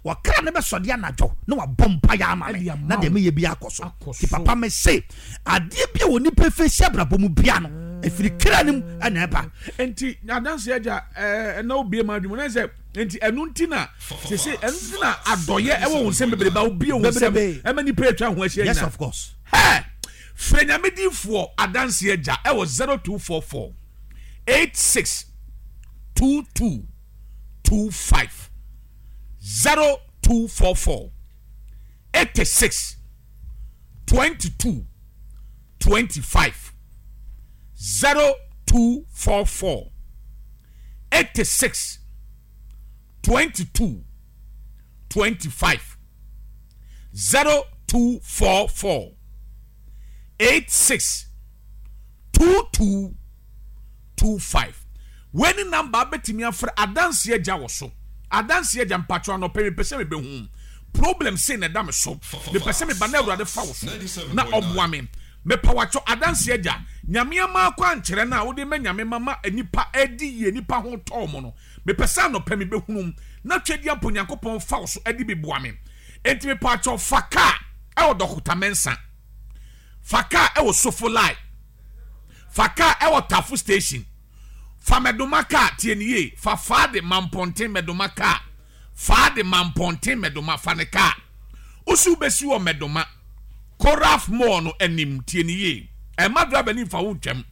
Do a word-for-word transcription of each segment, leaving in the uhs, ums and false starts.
Wɔkra ne bɛsɔde anadwo na wabɔ mpa yɛ ama me Ɛde ama na deɛ wo. Meyɛ bi akɔ so. Akɔ Nti so. papa, me se adeɛ bi a wɔ nipa fɛ si abrabɔ mu bia no, ɛfiri kra no mu ɛna ɛba. Nti adanse agya, ɛɛ ɛna obie ma adwuma na sɛ nti ɛnu nti na sese ɛnu nti na adɔyɛ ɛwɔ wɔn nsɛm bebrebe a obie wɔn nsɛm Bebrebe. ɛmɛ nipa atwa ho ahyia Yes, nyinaa. of course. Hɛ, frɛ Nyamediifoɔ Adanse Agya ɛwɔ zero two four four eight six two two two five, zero two four four eighty six twenty two twenty five, zero two four four eighty six twenty two twenty five, zero two four four eight six two two two five. Wei ne number abɛtumi afrɛ Adanse Agya wɔ so. Adanse Agya, mpatwo, anɔpɛ mepɛ sɛ mebɛhu problem sei na ɛda me so, mepɛ sɛ meba na Awurade fa wo so na ɔboa me. Mepa watwɔ, Adanse Agya, Nyame ama akɔ ankyerɛ no a wode ma Nyame mama nipa adi yie, nipa ho tɔɔ mo no, mepɛ sɛ anɔpɛ mebɛhunu na twɛdi ampo Nyankopɔn fa wo so adi bi boa me. Enti mepa atwɔ, fa kaa ɛwɔ Dɔkota Mɛnsa, fa kaa ɛwɔ Sofolai, fa kaa ɛwɔ Tafo Station, fa Mɛdoma kaa. Tie ne yie, fa Faade Mampɔnten Mɛdoma kaa, Faade Mampɔnten Mɛdoma, fa ne kaa wosi wobɛsi wɔ Mɛdoma Koraf Mall no anim. Tie ne yie, ɛma driver ni nfa wo ntwam.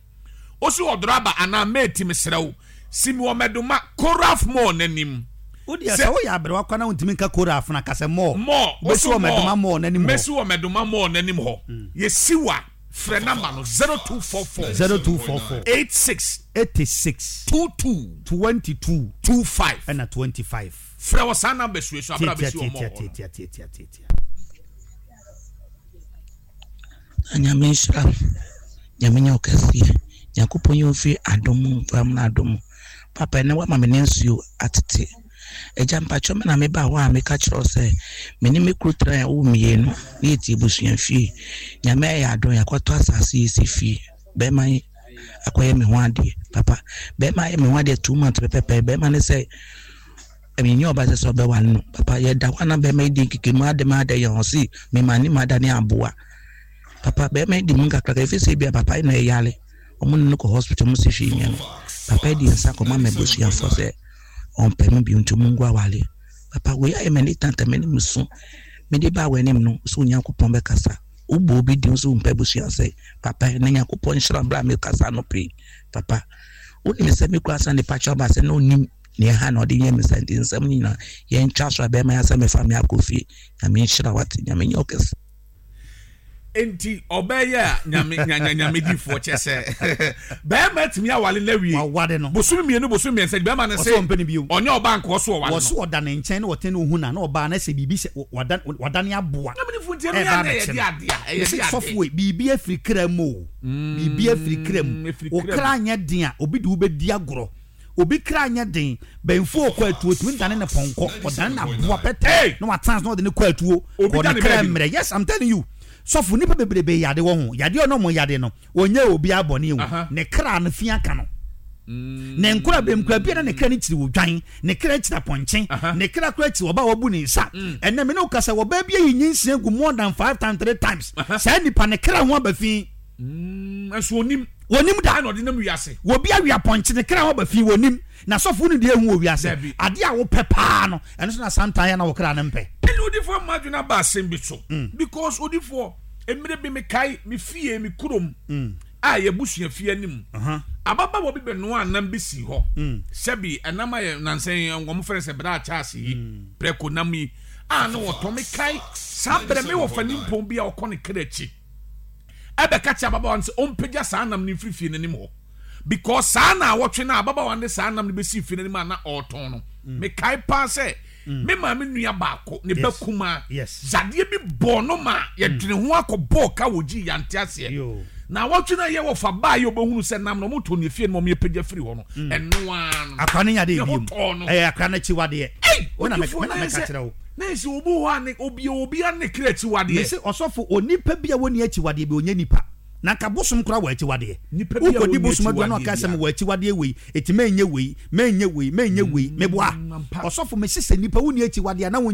Wosi wɔ driver anaa mate, mesrɛ wo, si mi wɔ Mɛdoma Koraf Mall n'anim. Wodeɛ Sɛ- sɛ woyɛ aberewa kwa na wontumi nka Koraf na kasɛ mall. Mall. Wobɛsi wɔ Mɛdoma Mall n'anim hɔ. Mɛsi wɔ Mɛdoma Mall n'anim hɔ. Yɛsi wa, frɛ number no zero two four four zero two four four eight six eighty-six two two twenty-two two five ɛna twenty-five. Frɛ wɔ saa number sue so abere a bɛsi wɔ mall hɔ no. Tia tia tia tia tia. Na Nyame nhyira wo. Nyame nyɛ wo kɛseɛ. Nyankopɔn yi wo mfiri adom mu mfram no adom mu. Papa, ɛnɛ woama me ne nsuo atete. Agya, mpakyɛ, me na meba hɔ a meka kyerɛ wo sɛ me ne me kuro tena a wo mmienu na yɛte abusua fie. Nyame ayɛ adom, yɛakɔtɔ asase, yɛsi fie. Bɛrima yi akɔyɛ me ho adeɛ. Papa, bɛrima ayɛ me ho adeɛ two months pɛpɛpɛ. Bɛrima ne sɛ menyɛ ɔba sɛ sɛ ɔbɛware no. Papa, yɛda hɔ a na bɛrima yi di nkekemu ade ma ada yɛn ɔse mema ne ma da ne aboa. Papa, bɛrima yi di mu nkakraka ɛfiri sɛ ebia papa yi na ɛyare, ɔmo ne no kɔ hospital, ɔmo si hwee nyɛ no. Papa yi de nsa kɔma ma abusuafoɔ sɛ ɔmpɛ me bio, nti ɔmo ngu awale. Papa, wei ayɛ m'ani tanta, m'anim so mede baa w'anim no sɛ Onyankopɔn bɛkasa. Wobɔ obi din so wompɛ abusua sɛ papa na Nyankopɔn nhyira berɛ a mekasa no pii. Papa, wonim sɛ me kura sa nipa kyɛw ba sɛ na onim nea ɛha na ɔde yɛ me sɛ nti nsɛm no nyinaa yɛntwa so a bɛrima yɛ sɛ mefa me akɔ fie. Nyame nhyira, wate? Nyame nyɛ wo kɛse. Nti ɔbɛyɛ a Nyame nyanya Nyamedifoɔ kyɛ sɛ bɛrima atumi awale no awie. Wawade no. Bosom mmienu, bosom mmiɛnsa, bɛrima no Ɔsɛ sɛ ɔmpɛ no bio. Ɔnyɛ ɔba nkoɔ so ɔwale Wɔ so no. ɔda ne nkyɛn na ɔtɛn na ohu na na ɔbaa na sɛ biribi sɛ wada wadane aboa. Nyamedifoɔ, nti ɛno Ɛba yɛ na abɛkyɛ yɛde no. adeɛ a ɛyɛ Mese de ade. sɔfo yi, biribi afiri kra mu o, biribi afiri kra mu. Ɛfiri Wo kra mu. kra nyɛ den a, obi de wo bɛdi agorɔ. Obi kra nyɛ den, bɛnfo okɔ atuo tumi dane ne pɔnkɔ, ɔdane n'aboa pɛtɛ Hey! na watena ase na ɔde ne kɔ atuo. Obi Kɔ dane ne kra baabi. mmerɛ. Yes, I'm telling you, sɔfo, nipa bebrebe yade wɔ ho yadeɛ, ɔno ɔmo yade no, wɔnyɛ obi abɔne o. Aha. Ne kra no fi aka no ne nkora bɛm kura bia na ne kra no kyiri wɔ ne kra kyiri apɔnkye. Aha. Ne kra kora kyiri ɔba a wabu ne nsa. Ɛnɛ me ne wo kasa, wɔbaa bi ayi nyinsɛn gu more than five times, three times. Saa nipa ne kra ho aba fi. Mm, nso onim. Wɔnim da. Ɛna ɔde nam wiase. Wɔbi awi apɔnkye, ne kra ho aba fi, wɔnim na sɔfo no deɛ ehu wɔ wiase. Dabi. Adeɛ a wopɛ paa no, ɛno so na santan yɛ na wo kra no mpɛ. Ɛne odifoɔ mma adwene aba asɛm bi so because odifoɔ, mmerɛ bi mekae me fie, me kurom a yɛbusua fie anim, ababaawa bi bɛnoa anam bi si hɔ. Sɛbi, ɛnam ayɛ nansɛn wɔn fɛn sɛ bra akyase yi, prɛko nam yi a na wɔtɔ. Mekae saa berɛ me wɔ fani mpɔn bi a ɔkɔ ne kra akyi ɛbɛka kyerɛ ababaawa no sɛ ɔmpagya saa nam no mfiri fie n'anim hɔ because saa na awɔtwe no a ababaawa no de saa nam no bɛsi fie n'anim a na ɔretɔn no, mekae paa sɛ me maame nua baako ne ba Yes. kumaa Yes. yadeɛ bi bɔɔ no ma yɛdwene ho akɔ bɔɔ ka wɔ gyi yante aseɛ. Yo. Na awɔtwe no a yɛwɔ fa baa yɛ ɔbɛhunu sɛ nam no ɔmotɔ ne fie no ma ɔmyɛpagya firi hɔ no, ɛno ara no Akora no nya de ne ho ebiem. tɔɔ no. Ɛyɛ akora no akyiwadeɛ. Ei, Wo na mɛka odifoɔ me na na mɛka yɛ sɛ- kyerɛ wo. Na yɛ sɛ obi wɔ hɔ a ne obi obi a ne kra akyiwadeɛ. Mese ɔsɔfo, onipa bi a wɔni akyiwadeɛ bi, ɔnyɛ nipa na nka bosom kora wɔ akyiwadeɛ. Nipa bi a wokɔdi wɔnni bosom adua na ɔka akyiwadeɛ sɛ biara. mewɔ akyiwadeɛ wei, ɛti mɛnyɛ wei, mɛnyɛ wei, mɛnyɛ wei, meboa. Ampa. Ɔsɔfo, mese sɛ nipa wonni akyiwadeɛ a na